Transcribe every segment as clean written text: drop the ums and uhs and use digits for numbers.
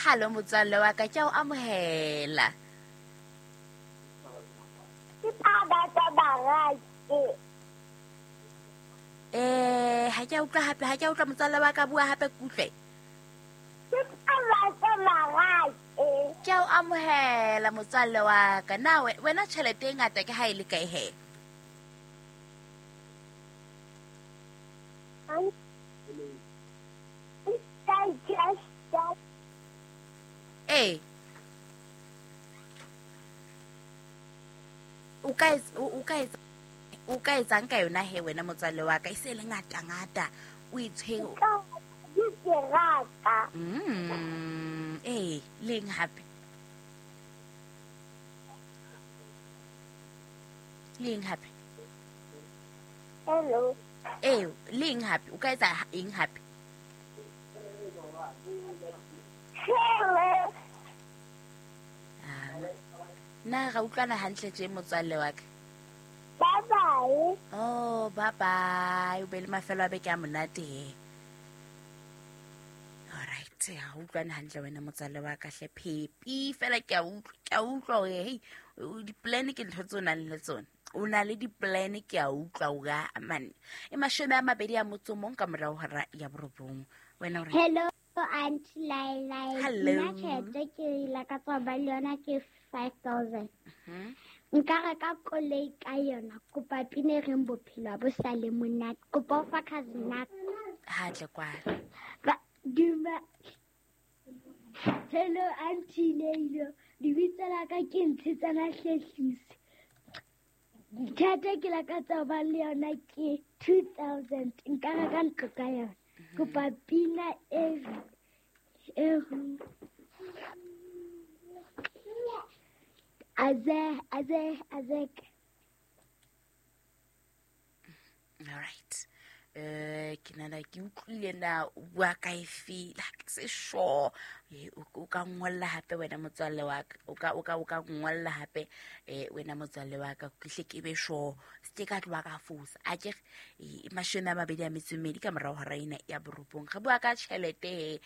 Hallo motswalle wa ka, ke a o amohela. Ke taba barake. Ha ke a utlwa hape, ha ke a utlwa motswalle wa ka, bua hape ke utlwe. Ke taba barake. Ke a o amohela motswalle wa ka. Na wena tjhelete e ngata ke ha e le kae he? Ee. O ka o ka etsang ka yona he wena motswalle wa ka, e se le ngata ngata o e tshwere. Ee, le eng hape? Le eng hape? Hello. Ee, le eng hape? O ka etsa eng hape? Hello. Na ra utlwana hantle tje motswalle wa ka? Bye bye. Oh, bye bye. O be le mafelo a beke a monate he. All right, ha utlwana hantle wena motswalle wa ka hle phepi fela ke a utlwa, ke a utlwa hore hey, di-plan ke ntho tse o nang le tsona. O na le di-plan ke a utlwa hore a man. E 22 mong ka morao hora ya 9. Wena o re Hello Auntie Laila. Hello. Nna tjhelete ke lakatsa ba le yona ke 5000. Nka reka koloi ka yona. Kopa pina e reng bophelo bo sa le monate. Kopa o fa cousin nako. Ha tle kwana. Ba duma. Hello Auntie Leilo. Lebitso la ka ke Ntshetsana Hlehlisi. Tjhelete ke lakatsa ba le yona ke 2000. Nka reka ntlo ka yona. Kopa pina e aze aze aze. All right. Ke nana ke utlwile na o bua ka efe, ha ke se sure. O ka ngolla hape wena motswalle wa ka. O ka ngolla hape wena motswalle wa ka. Ke hle ke be sure. Se ke ka tloha ka fosa. A ke 22 ka morao hora ena ya 9. Re bua ka tjhelete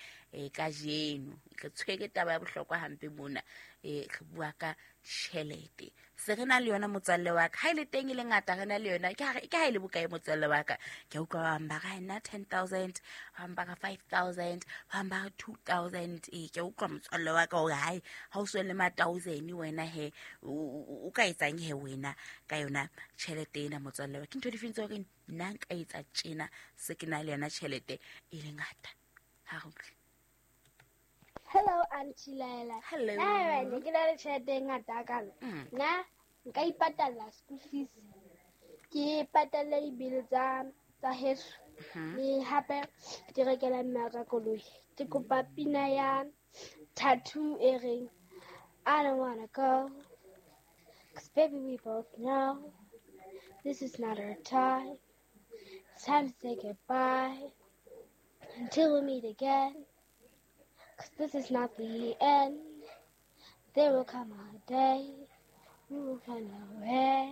kajeno. Re tshwere taba ya bohlokwa hampe mona. Re bua ka tjhelete. Se re na le yona motswalle wa ka. Ha e le teng e le ngata re na le yona. Ke ha e le bokae motswalle wa ka? Ke utlwa ba bang ba re nna 10,000, ba bang ba re 5,000, ba bang ba re 2,000. Ke utlwa motswalle wa ka hore hae ha o so le ma 1,000 wena he o ka etsang he wena ka yona tjhelete ena motswalle wa ka. Ke ntho difeng tse hore nna nka etsa tjena se ke na le yona tjhelete e le ngata. Ha re utlwe. Hello Auntie Laila. Hello. Na ke na le tjhelete e ngata kana. Nna nka ipatalla school fees. Ke patalla di-bill tsa heso. Le hape ke rekela mme ka koloi. Ke kopa pina ya Tattoo e reng I don't wanna go. 'Cause baby we both know this is not our time. It's time to say goodbye until we meet again. 'Cause this is not the end. There will come a day we will find a way.